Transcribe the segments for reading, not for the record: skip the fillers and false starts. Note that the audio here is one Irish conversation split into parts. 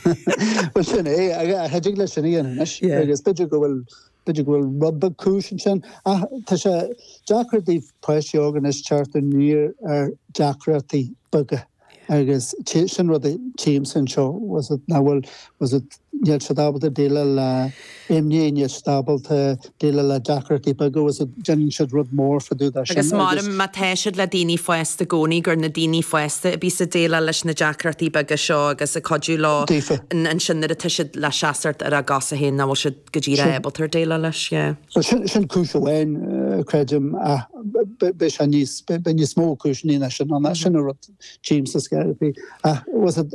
Bhuel sin é, cha dtig leis sin a dhéanamh anois agus b'fhéidir go bhfuil, b'fhéidir go bhfuil rud beag cúis ansin ach tá sé deacair do pháistí óga anois teacht aniar ar deacrachtaí beaga agus sin rud a tchímse anseo, was it, nach bhfuil, was it, níl siad ábalta déileáil le imní, níl siad ábalta déileáil le deacrachtaí beaga, was it, déanann siad rud mór fá dtaobh de sin Agus agus. Má tá siad le daoine fásta i gcónaí gur na daoine fásta a bíos ag déileáil leis na deacrachtaí beaga seo agus ag cuidiú leo Daofa. ansin nuair atá siad le seasamh ar a gcosa féin nach bhfuil siad go díreach ábalta ar déileáil leis, yeah. Bhuel sin, sin cúis amháin, creidim, ach beidh sé níos, beidh níos mó cúiseanna ná sin ann, sin an rud tchímse scaitheamh. Ach was it,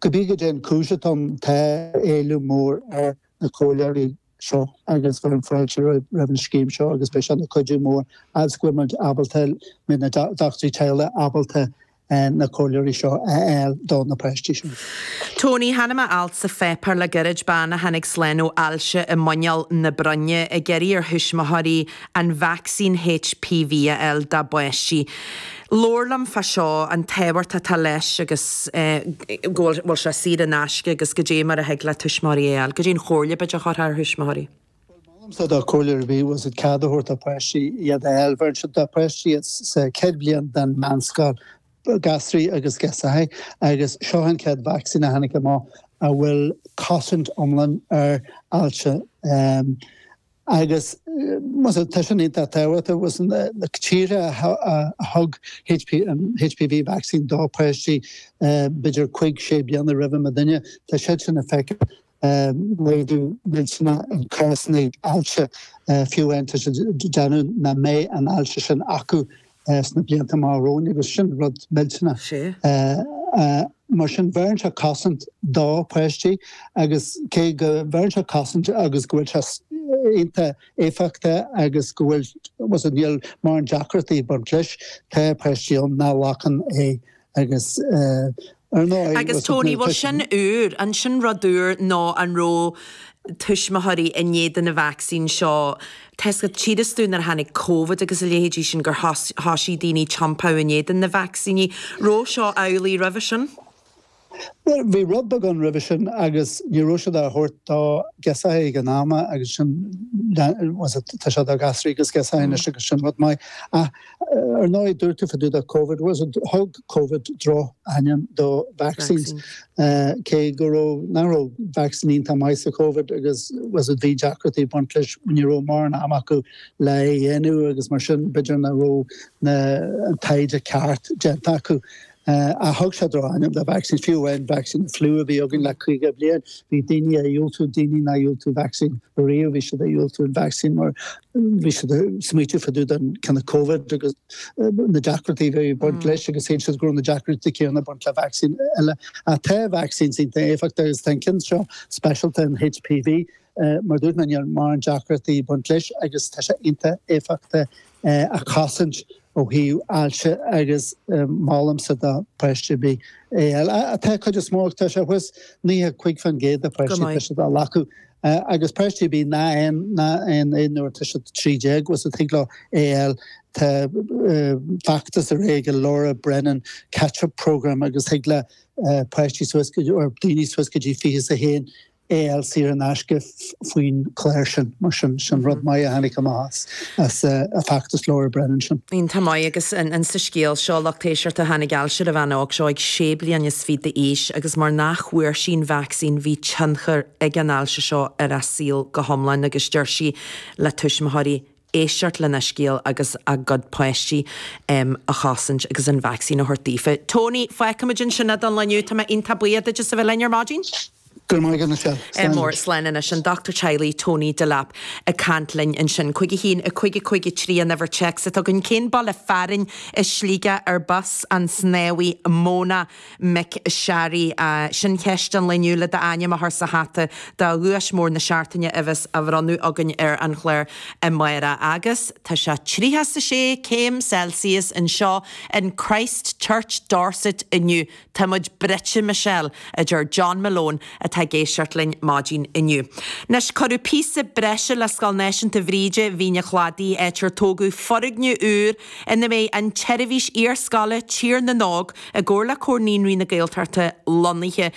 cibé goidé an cúis atá ann, tá éileamh mór ar na comhairleoirí seo agus bheirim fáilte roimh an scéim seo agus beidh sé ina cuidiú mór agus go bhfuil muid ábalta, mbeidh na dochtúirí teaghlaigh ábalta na comhairleoirí seo a fháil do na páistí seo. Tony, Chonaic mé alt sa pháipéar le gairid, bean a tháinig slán ó ailse i muineál na broinne, ag iarraidh ar thuismitheoirí an vacsaín HPV a fháil dá bpáistí. Labhair liom fá seo, an tábhacht atá leis agus go bhfuil sé saor in aisce agus goidé mar a thig le tuismitheoirí é a fháil. Goidé an chomhairle b'fhéidir a chuirfeá ar thuismitheoirí? Bhuel, molaimse do chomhairleoir ar bith was it cead a thabhairt do pháistí iad a fháil. Bheireann siad do pháistí sa chéad bhliain den mheánscoil, gasraí agus girseachaí, agus seo an chéad vacsaín a tháinig amach a bhfuil cosaint iomlán ar ailse. Agus was it tá sin iontach tábhachtach was na tíortha a thug HPV vaccine do pháistí b'fhéidir cuig, sé bliana roimhe muidinne, tá siad sin ag feiceáil laghdú millteanach in cásanna ailse, fiú amháin tá siad ag déanamh nach mbeidh an ailse sin acu sna blianta amach romhainn agus sin rud millteanach. Mar sin bheireann sé cosaint do pháistí agus cé go bheireann sé cosaint agus go bhfuil sé iontach éifeachtach agus go bhfuil, was it, níl mórán deacrachtaí ag baint leis, tá páistí ann nach nglacann é Agus ar ndóigh, Agus Tony, bhfuil sin úr? An sin rud úr nó an raibh tuismitheoirí in éadan na vacsaín seo? Tá 'fhios agat, tchítheas dúinn nuair a tháinig Covid agus a leithéidí sin gur thoisigh daoine tiompú in éadan na vacsaíní. Raibh seo amhlaidh roimhe sin? Bhuel, bhí rud beag ann roimhe sin agus ní raibh siad á thabhairt do ghirseachaí ag an am agus sin, was it, tá sé do ghasraí agus girseachaí anois agus sin rud maith. Ach ar ndóigh, dúirt tú fá dtaobh de Covid, was it, thug Covid droch-ainm do vaccines cé go raibh, nach raibh vaccine iontach maith sa Covid agus was it, bhí deacrachtaí ag baint leis, ní raibh mórán ama acu le é a dhéanamh agus mar sin b'fhéidir nach raibh na, an taighde ceart déanta acu. Ach thug sé droch-ainm do vaccines, fiú amháin vacsaín na fliú a bhí againn le 50 bliain, bhí daoine ag diúltú, daoine nár dhiúltaigh vacsaín riamh, bhí siad ag diúltú an vacsaín mar bhí siad ag smaoitiú fá dtaobh den cineál Covid agus na deacrachtaí a bhí ag baint leis agus shíl siad go raibh na deacrachtaí céanna ag baint le vacsaín eile. Ach tá vaccines iontach éifeachtach agus tá an ceann seo speisialta, an HPV, Mar a dúirt mé, níl mórán deacrachtaí ag baint leis agus tá sé iontach éifeachtach ag cosaint ó thaobh ailse agus molaimse do pháiste ar bith é a fháil. Tá cuid is mó, tá sé thuas 95% de pháistí, tá siad á ghlacadh agus páistí ar bith nach aon é nuair atá siad 13 agus thig leo é a fháil. Tá feachtas ar aghaidh ag Laura Brennan Catch Up Programme agus thig le páistí suas go, or daoine suas go dtí 21 é a fháil saor in aisce faoin chlár sin. Mar sin, sin rud maith a tháinig amach as feachtas Laura Brennan sin. Iontach maith agus in sa scéal seo, lucht éisteachta, tháinig ailse ar an bhean óg seo ag sé bliana is fiche d'aois agus mar nach bhfuair sí an vacsaín bhí tionchar ag an ailse seo ar a saol go hiomlán agus deir sí le tuismitheoirí éisteacht lena scéal agus a gcuid páistí a chosaint agus an vacsaín a thabhairt daofa. Tony, fágfaimid ansin é don lá inniu. Tá mé iontach buíoch duit as a bheith linn ar maidin. Go raibh maith agat, Michelle. Slán mór. Slán anois. An Dochtúir Teaghlaigh Tony Delap ag caint linn ansin. 5 1 5 5 3 an uimhir téacs atá againn. Cén baile fearainn i Sligeach arb as an snámhaí Mona McSharry? Sin ceist an lae inniu le d'ainm a chur sa hata do dhuais mór na seachtaine a bheas á bhronnadh againn ar an chlár amárach. Agus tá sé 36 céim Celsius anseo in Christ Church Dorset inniu. Tá muid bruite, Michelle, a deir John Malone atá ag éisteacht linn maidin inniu. Anois, cuireadh píosa breise le Scoil Náisiúnta Bhríde, Mhín an Chladaigh, áit ar tógadh foirgneamh úr ina mbeidh an tseirbhís iarscoile Tír na nÓg i gcomhar le Comhar Naíonraí na Gaeltachta lonnaithe.